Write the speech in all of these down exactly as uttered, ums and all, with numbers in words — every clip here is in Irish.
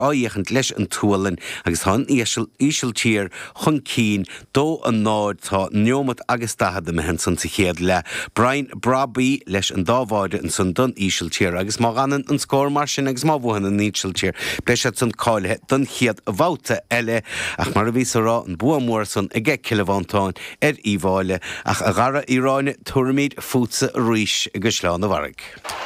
á fhéachaint leis an tSualainn agus tá an Ísiltír chun cinn dó a náid tá neomat agus daichead imithe ansan sa chéad leath. Brian Brobbey leis an dá bháide ansan don Ísiltír agus má fhanann an scór mar sin agus má bhuann an Ísiltír beidh siad san cáilithe don chéad bhabhta eile ach mar a bhíos a rá an bua mór san aige Cill Mhantáin ar Uíbh Fhailí ach a Dhara Uí Ráinne tabharfaimid fútsa arís i gCaisleán an Bharraigh.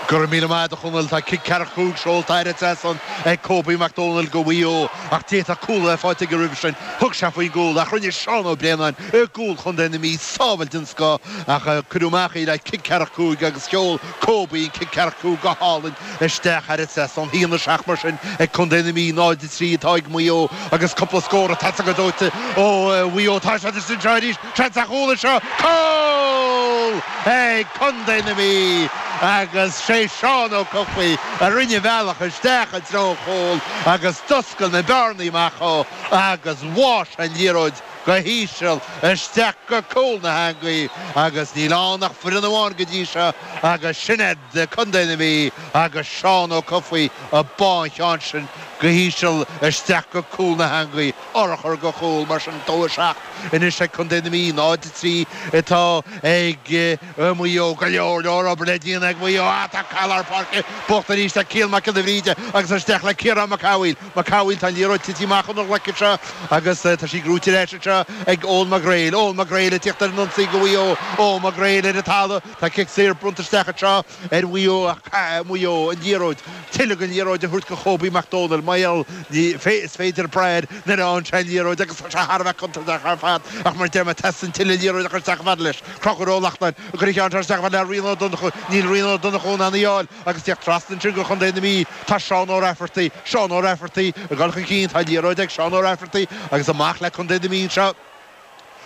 Go raibh míle maith agat a Chonaill tá cic ceathracha cúig seolta thar an trasnán ag Kobe Mac Dónaill go Mhaigh Eo ach d'fhéadfadh cúl a bheith faighte aige roimhe sin. Thug sé faoin gcúl ach rinne Seán Ó Braonáin i gcúl chontae na Mí sábháil den scoth ach cuireadh amach í le cic ceathracha cúig agus sheol Kobe an cic ceathracha cúig go hálainn isteach thar an trasnán. A haon a seacht mar sin ag contae na Mí náid a trí atá ag Maigh Eo agus cúpla scór ag teacht go dóite ó Mhaigh Eo. Tá siad istigh anseo arís, seans ar chúl anseo, cúl ag contae na Mí agus sé Seán Ó Cofaigh a rinne a bhealach isteach i dtreo an chúil agus d'oscail na bearnaí amach dhó agus bháigh sé an liathróid go híseal isteach go cúl na heangaí agus níl ann ach foireann amháin go dtí seo agus sin iad Contae na Mí agus Seán Ó Cofaigh a bá an ceann sin go híseal isteach go cúl na heangaí urchar go chúl mar sin dó a seacht anois ag Contae na Mí náid a trí atá ag Maigh Eo go leor leor obair le déanamh ag Maigh Eo tá cath lár páirce buachta arís ag Cian Mac Giolla Bhríde agus isteach le Ciarán Mac Cathmhaoil Mac Cathmhaoil tá an liathróid tite amach óna ghlaic anseo agus tá sí gnóite ar ais anseo ag Eoin Mac Gréil Eoin Mac Gréil ag tíocht ar an ionsaí go Mhaigh Eo Eoin Mac Gréil ar an talamh tá cic saor bronnta isteach anseo ar Mhaigh Eo ach Maigh Eo an liathróid tuilleadh den liathróid a thabhairt go Kobe Mac Dónaill mar is féidir brath nuair a fhaigheann sé an liathróid agus tá sé thar a bheith contúirteach ar fad ach mar deir mé teastaíonn tuilleadh liathróid a chur isteach chomh fada leis Conchúr Ó Lachtnáin ag cur an cheann seo isteach chomh fada le Rian Ó Donnchú níl Rian Ó Donnchú in ann í a fháil agus tíocht trasna ansin go Chontae na Mí tá Seán Ó Rafferty Seán Ó Rafferty ag dul chun cinn tá liathróid ag Seán Ó Rafferty agus amach le Contae na Mí anseo.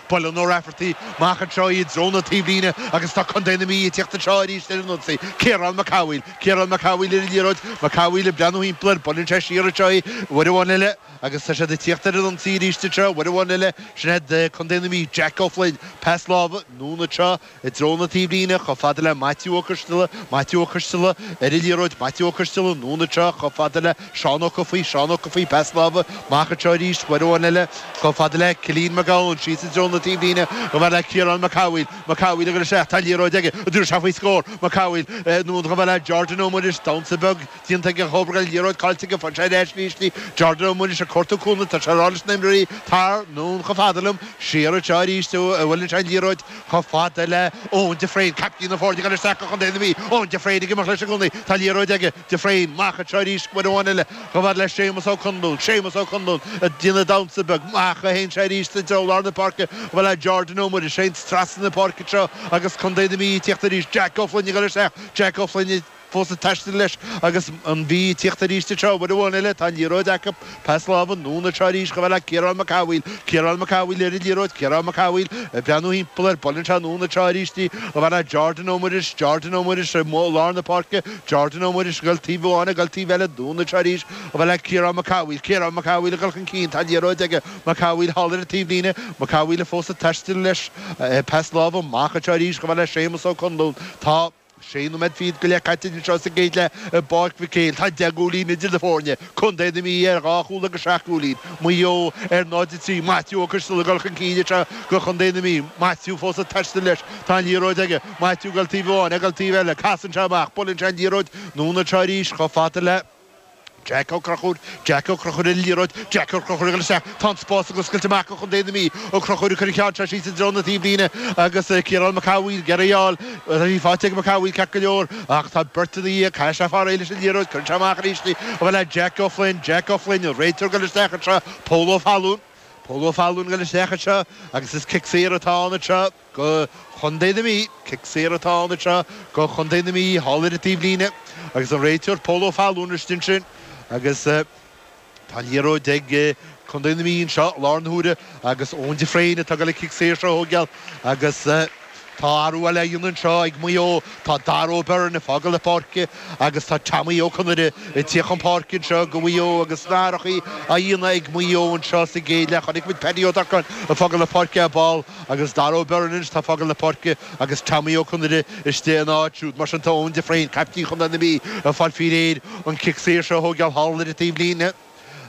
Buaileann Ó Rafferty amach anseo i dtreo na taobhlíne agus tá Contae na Mí ag tíocht anseo arís ar an ionsaí. Ciarán Mac Cathmhaoil, Ciarán Mac Cathmhaoil ar an liathróid, Mac Cathmhaoil ag breathnú thimpeall air, buaileann sé siar anseo í uair amháin eile agus tá siad ag tíocht ar an ionsaí arís anseo uair amháin eile. Sin iad Contae na Mí, Jack Ó Floinn, pas láimhe anonn anseo i dtreo na taobhlíne chomh fada le Maitiú Ó Coisteala, Maitiú Ó Coisteala ar an liathróid, Maitiú Ó Coisteala anonn anseo chomh fada le Seán Ó Cofaigh, Seán Ó Cofaigh, pas láimhe amach anseo arís uair amháin eile chomh fada le Cillian Mac Gabhann síos i dtreo na taobhlíne chomh fada le Ciarán Mac Cathmhaoil, Mac Cathmhaoil ag dul isteach, tá liathróid aige, an dtabharfaidh sé faoi scór, Mac Cathmhaoil anonn chomh fada le Jordan Ó Muiris, damhsa beag déanta aige chomh an liathróid caillte aige, faigheann sé ar ais arís í, Jordan Ó Muiris ag cuartú cúnamh, tá sé ag rá leis na himreoirí, tar anonn chomh fada liom, siar anseo arís a bhuaileann sé an liathróid chomh fada le Eoin de Fréin, caiptín na foirne ag dul isteach go Chontae na Mí, Eoin de Fréin ag imeacht leis i gcónaí, tá liathróid aige, de Fréin, amach anseo arís uair amháin eile chomh fada le Séamus Ó Conluain, Séamus Ó Conluain ag déanamh damhsa beag, amach a théann sé arís i dtreo lár na páirce chomh fada le Jordan Ó Muiris, téann trasna na páirce anseo agus Contae na Mí ag tíocht arís, Jack Ó Floinn ag dul isteach, Jack Ó Floinn fós ag taisteal leis agus an Mhí ag tíocht arís anseo uair amháin eile. Tá an liathróid acu. Pas láimhe anonn anseo arís chomh fada le Ciarán Mac Cathmhaoil. Ciarán Mac Cathmhaoil ar an liathróid. Ciarán Mac Cathmhaoil ag breathnú thimpeall air. Buaileann sé anonn anseo arís í chomh fada le Jordan Ó Muiris. Jordan Ó Muiris i lár na páirce. Jordan Ó Muiris ag dul taobh amháin, ag dul taobh eile. Anonn anseo arís chomh fada le Ciarán Mac Cathmhaoil. Ciarán Mac Cathmhaoil ag dul chun cinn. Tá an liathróid aige. Mac Cathmhaoil thall ar an taobhlíne. Mac Cathmhaoil fós ag taisteal leis. Pas láimhe amach anseo arís chomh fada le Séamus Ó Conluain. Tá. Sé nóiméad fichead go leith caite anseo sa gcéad leath i bPáirc Mhic Éil. Tá deich gcúilín idir na foirne. Contae na Mí ar dhá chúl agus seacht gcúilín. Maigh Eo ar náid a trí. Maitiú Ó Coisteala ag dul chun cinn anseo do Chontae na Mí. Maitiú fós ag taisteal leis. Tá an liathróid aige. Maitiú ag dul taobh amháin, ag dul taobh eile. Casann sé amach. Buaileann sé an liathróid anonn anseo arís chomh fada le. Jack Ó Conchúir, Jack Ó Conchúir ar an liathróid, Jack Ó Conchúir ag dul isteach, tá an spás ag oscailt amach do Chontae na Mí, Ó Conchúir ag cur an cheann seo síos i dtreo na taobhlíne agus Ciarán Mac Cathmhaoil ag iarraidh í a fháil, tá sí faighte ag Mac Cathmhaoil ceart go leor ach tá beirt ina dhiaidh, caithfidh sé fáil réidh leis an liathróid, cuireann sé amach arís í, chomh fada le Jack Ó Floinn, Jack Ó Floinn, an réiteoir ag dul isteach anseo, Pól Ó Fallúin, Pól Ó Fallúin ag dul isteach anseo agus is cic saor atá ann anseo go Chontae na Mí. Cic saor atá ann anseo go Chontae na Mí thall ar an taobhlíne agus an réiteoir Pól Ó Fallúin istigh ansin agus tá an liathróid ag Contae na Mí anseo i láthair na huaire agus Eoin de Fréin atá ag dul an cic saor seo a thógáil agus Tá athrú eile á dhéanamh anseo ag Maigh Eo. Tá Dara O'Byrne ag fágáil na páirce agus tá Tommy Ó Conaire ag tíocht chun páirce anseo do Mhaigh Eo agus na hathruithe á dhéanamh ag Maigh Eo anseo sa gcéad leath. Chonaic muid Paddy Ó Durcáin ag fágáil na páirce ar ball agus Dara O'Byrne anois atá ag fágáil na páirce agus Tommy Ó Conaire istigh ina áit siúd. Mar sin tá Eoin de Fréin, caiptín chontae na Mí, ag fáil faoi réir an cic saor seo a thógáil thall ar an taobhlíne.